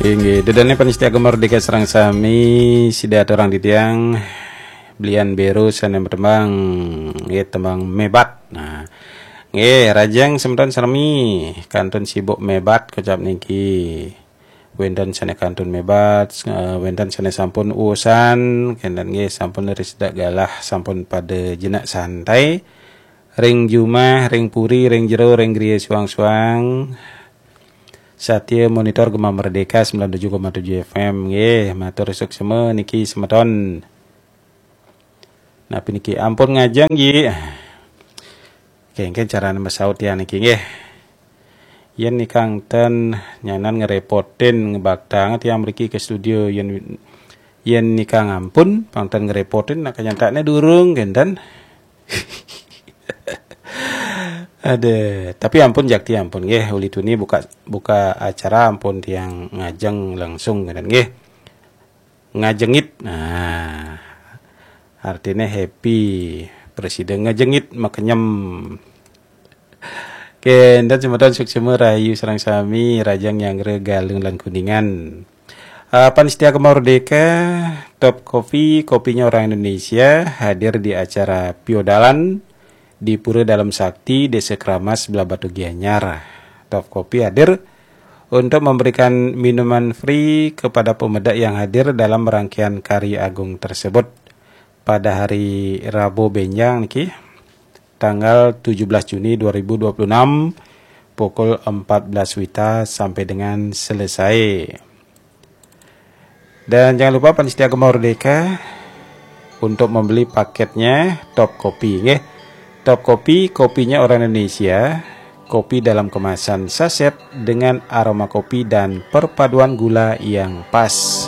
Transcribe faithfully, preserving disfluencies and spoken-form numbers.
Inggih, dedane panitia Gema Merdeka sareng sami, sida aturang titiang, belian beru sane tembang, nggih, tembang Mebat. Nah, nggih, rajang semeton sami, kantun sibuk mebat kocap niki. Wenten sane kantun mebat, eh, wenten sane sampun usan, kenten nggih sampun risida galah, sampun pada jenak santai. Ring jumah, ring puri, ring jero, ring griya suang-suang. Satya monitor Gema Merdeka sembilan tujuh koma tujuh F M. Nggih, matur suksma niki semeton. Napi niki ampun ngajeng, Ji? Kengken carane masaut tiang niki, nggih. Yen nikang ten nyanan ngerepotin, ngebaktang tiang mriki ke studio, yen, yen nikang ampun, pang ten ngerepotin, nak kanyatane durung, kenten. Aduh, tapi ampun jakti ampun, nggih, uli tuni buka, buka acara ampun tiang ngajeng langsung, kenten, nggih. Ngajengit. Nah, artine happy. Presiden ngajengit makenyem. Kenten semeton suksma rahayu sareng sami, rajang nyanggra Galung lan Kuningan. Ah, panitia Gema Merdeka, Top Kopi, kopinya orang Indonesia, hadir di acara Piodalan di Pura Dalem Sakti, Desa Keramas, Blahbatuh Gianyar. Top Kopi hadir untuk memberikan minuman free kepada pemeda yang hadir dalam rangkaian karya agung tersebut. Pada hari Rabu benjang niki, tanggal tujuh belas Juni dua ribu dua puluh enam, pukul empat belas wita sampai dengan selesai. Dan jangan lupa panitia Gema Merdeka untuk membeli paketnya Top Kopi, nggih. Top Kopi, kopinya orang Indonesia, kopi dalam kemasan saset dengan aroma kopi dan perpaduan gula yang pas.